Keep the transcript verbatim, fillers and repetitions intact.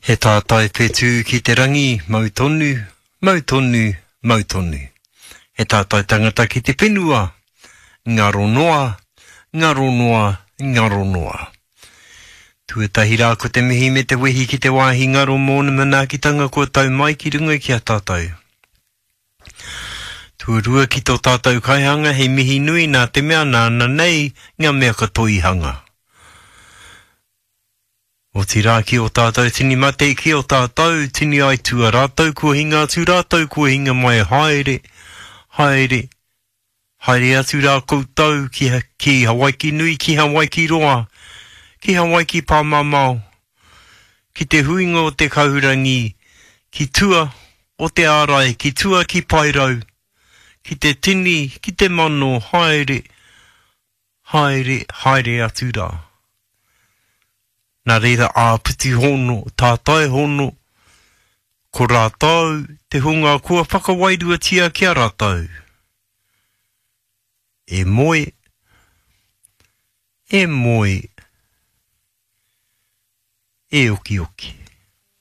He tātai whetū ki te rangi, mau tonu, mau tonu, mau tonu. He tātai tangata ki te whenua, ngaro noa, ngaro noa, ngaro noa. Tuatahi rā ko te mihi me te wehi ki te wāhi ngaro mōna manaakitanga kua tau mai ki runga ki a tātou. Tuarua ki tō tātou kaihanga he mihi nui nā te mea nāna nei ngā mea katoa i hanga. Otirā ki ō tātou tini mate, ki ō tātou tini aitua, rātou kua hinga atu, rātou kua hinga mai, haere, haere, haere atu rā koutou ki, ki Hawaiki nui, ki Hawaiki roa, ki Hawaiki pāmamao, ki te huinga o te kahurangi, ki tua o te ārai, ki tua ki Paerau, ki te tini, ki te mano, haere, haere, haere atu rā. Nā reira āpiti hono, tātai hono, ko rātou te hunga kua whakawairuatia ki a rātou. E moe, e moe, e okioki.